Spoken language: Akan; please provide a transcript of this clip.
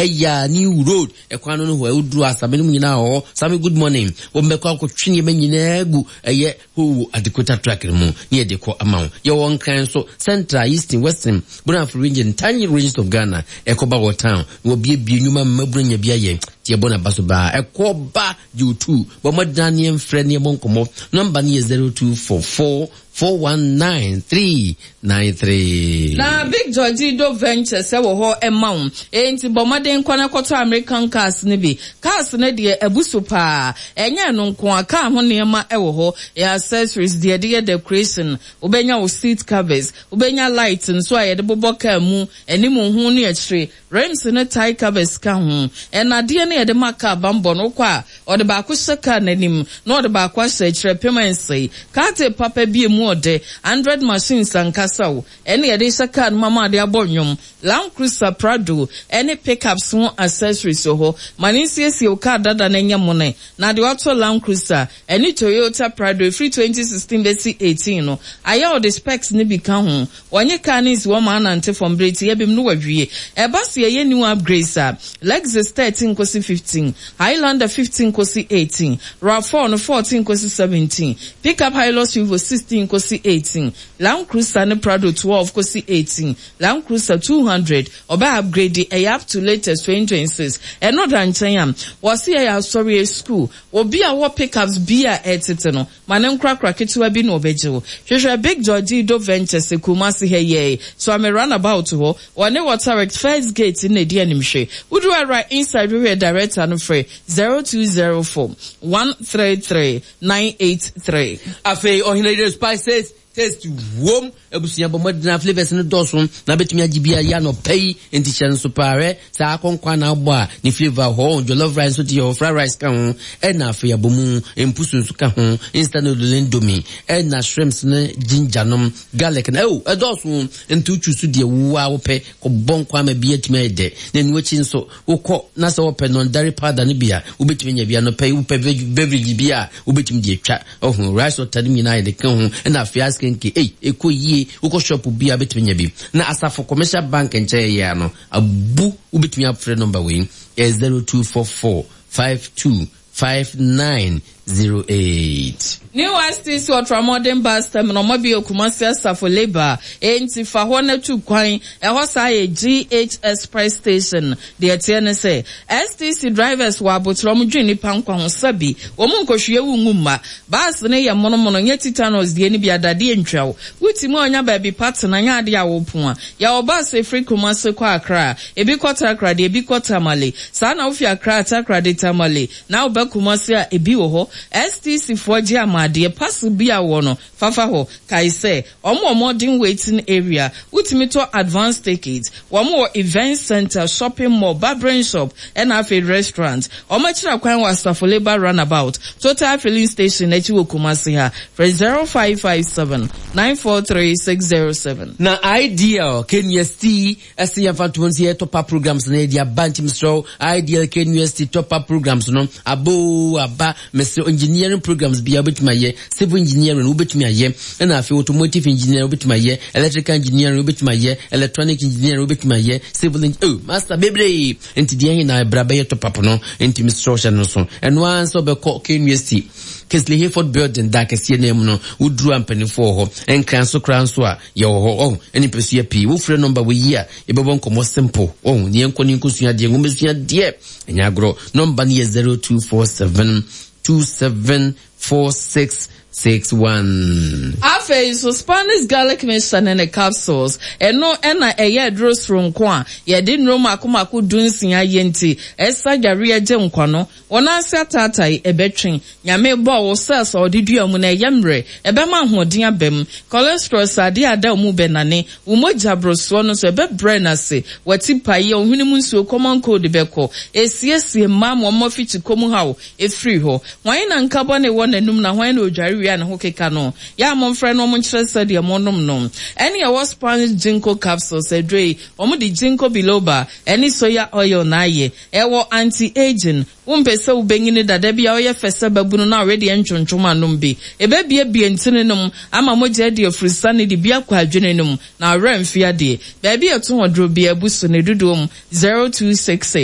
Ha yi a New Road ɛkwan no no hɔ ɛwoduru asame no mu nyinaa wɔ hɔ. Same good morning. Wɔn bɛkɔ akɔtwe nneɛma nyinaa gu ɛyɛ Howo Adekota truck no mu ne yɛde kɔ ama wo. Yɛwɔ Nkran nso, Central, Eastern, Western, Brafo region, Tanyi regions of Ghana. Ɛkɔba wɔ town na wɔbiebie nnwuma mmabunu anya bi ayɛ. Nti yɛbɔ n'aba so baa. Ɛkɔ ba gye wo tu. Bɔ mmɔden ne yɛmfrɛ ne yɛmmɔ nkɔmmɔ. Nɔmba no yɛ 0244 419 393. Na Big Georgie Do Ventures wɔ hɔ ma wo. Enti bɔ mmɔden kɔ na kɔtɔ American cars no bi. Cars no deɛ abu so paa. Ɛnyɛ ɛno nko ara, car ho nneɛma wɔ hɔ, accessories, deɛ yɛde yɛ decoration, wobɛnya wo seat covers, wobɛnya light nso a yɛde bobɔ car mu, anim ho ne akyire, rims ne tyre covers ka ho. Nnadeɛ no yɛde ma car bammɔ no, wokɔ a, ɔde baako hyɛ car no anim na ɔde baako ahyɛ akyire, ɛpem ɛnsɛe. Car tape papa bi a ɛmu ɔdɛ, Android machines ankasa o, ɛne yɛde hyɛ car no mu ama ade abɔ nnwom. Land Cruiser, Prado, ne pickups ho accessories wɔ hɔ. Ma no nsiesie wo car dada no nyɛ mone. Na deɛ watɔ Land Cruiser ne Toyota Prado ɛfiri 2016 bɛsi 18 no, ayɛ ɔde specs no bi ka ho. Wɔnye car no nsi hɔ ma anante fam berɛ tiaa bi mu na wawie. Ɛba sɛ yɛyɛ new upgrades a, Lexus 13 kɔsi 15, Highlander 15 kɔsi 18, Rav4 no 14 kɔsi 17, pickup Hilux Revo 16 kɔsi 18, Land Cruiser ne Prado 12 kɔsi 18, Land Cruiser 200 ɔbɛ upgrade ɛyɛ up to latest 2026 ɛno da nkyɛn a wɔse yɛyɛ asɔre school obi a ɔwɔ pickups bi a ɛtete no ma ne nkorakora ketewa bi na ɔbɛgye wo hwehwɛ Big Georgie Do Ventures Kumasi ha yɛɛ Suame runabout hɔ wɔne Waterworks first gate no na ɛdi animhwɛ woduru ara inside hwehwɛ director no frɛ 0204 133 983. Afei ɔhene yere spices Taste wom. Abusua bɔ mmɔden na flavours no dɔɔso na bɛtumi agye bi ayɛ anɔpa yi nti hyɛ nso paa hwɛ saa akɔnkɔ na abɔ a ne flavour hɔ jollof rice nso te hɔ fried rice ka ho ɛna afei abomu mpusu nso ka ho instant noodle indomie ɛna shrimps ne ginger nom garlic na ɛo ɛdɔɔso nti wotwi so deɛ wo a wopɛ kɔbɔ nkwa ama bi atumi ayɛ dɛ na ɛno akyi nso wokɔ na sɛ wɔpɛ non-dairy powder no bi a wobɛtumi anya bi anɔpa yi wopɛ beverage bi a wobɛtumi de atwa Ɔho rice water no nyinaa yɛde ka ho ɛna afei askenke ei ɛkɔ yie wokɔ shop bi a wobɛtumi anya bi na asafo commercial bank nkyɛn yɛ ano abu wobɛtumi afrɛ number wei ɛyɛ 0244 52 5908. New STC Ultramodern Bus Terminal ɔmo abue Kumasi Asafo Labour enti fa hɔ na tu kwan ɛhɔ saa yɛ GH Express Station Deɛ ɛteɛ ne sɛ, STC drivers wɔ aboterɛ, wɔdwen nnipa nkwa ho, sɛbi, wɔn nkɔhwie wo ngu mma. Bus no yɛ monomono, nyɛ tetanus deɛ no bi a, dadeɛ ntwa wo. Wotumi a ɔnya baabi pa tena, nyɛ adeɛ a wopo a. Yɛwɔ bus a ɛfiri Kumasi kɔ Accra, ebi kɔ Takoradi, ebi kɔ Tamale. Saa na wofi Accra, Takoradi, Tamale, na woba Kumasi a, ebi wɔ hɔ. STC foɔ gye ama adeɛ, parcel bi a wowɔ no, Fa fa hɔ. Kae sɛ, wɔn wɔ modern waiting area, wotumi tɔ advance ticket, wɔn wɔ event centre, shopping mall, barbering shop, ɛna afei restaurant. Wɔn akyiri akwan wɔ Asafo Labour Runabout, Total filling station akyi wɔ Kumasi ha. Frɛ 0557 943 607. Na Ideal KNUST Ɛse yɛmfa nto hɔ nsi yɛ top up programs no yɛde aba nti mesrɛ wo IDL KNUST top up programs no aba oo aba mesrɛ engineering programs bia wobɛtumi ayɛ civil engineering wobɛtumi ayɛ ɛna afei automotive engineering wobɛtumi ayɛ electrical engineering wobɛtumi ayɛ electronic engineering wobɛtumi ayɛ civil oh master bebree nti deɛ he na ɛbra bɛyɛ top up no nti mesrɛ wo hyɛ no so ɛno ara nso wobɛkɔ KNUST Kingsley Hayford building da kɛseɛ no mu no woduru a mpanimfoɔ wɔ hɔ nkran so koraa nso a Yɛwɔ hɔ ɔho ɛne mpɛsua pii. Wo frɛ number wɔ yi a yɛbɛbɔ nkɔmɔ simple ɔho ne yɛnkɔ ne nkɔsua adeɛ nwoma deɛ ɛnyɛ agorɔ. Number no yɛ 0247 27 46 61. Afei nso, Spanish garlic mixture ne ne capsules, ɛno na ɛyɛ aduro soronko a yɛde nnuro mmaako mmaako dunsia yɛ nti ɛsa yareɛ gye nkwa no. Wo nan ase ataatae, ɛbɛtwe. Nyame bɔɔ wo cells a ɔde dua mu no, ɛyɛ mmerɛ. Ɛbɛma ahoɔden aba mu. Cholesterol, sradeɛ a ada wo mu bɛnane. Wo mogya borosoɔ no nso, ɛbɛbrɛ no ase. W'atipaeɛ, wo hwene mu nsuo, common cold bɛkɔ. Ɛsiesie mmaa ma wɔn afikyikɔ mu haw firi hɔ. Hwan na nka bɔne wɔ n'anum na hwan na ɔdware wie a ne ho keka no? Yɛ a momfrɛ na wɔnkyerɛ sɛdeɛ monom no. Ɛne ɛwɔ Spanish Ginkgo capsules, aduro yi, wɔde Ginkgo biloba ne soya oil na ayɛ. Ɛwɔ anti-aging, wompɛ sɛ wobɛnyini dada bi a woyɛ fɛ sɛ babunu na awedeɛ ntwontwom anom bi. Ɛbɛbiebie ntini no mu ama mogya adi afurusane de bi akɔ adwene no mu na awerɛ mfe adeɛ. Baabi a ɛto hɔ duro biara abu so ne dodoɔ mu 0266.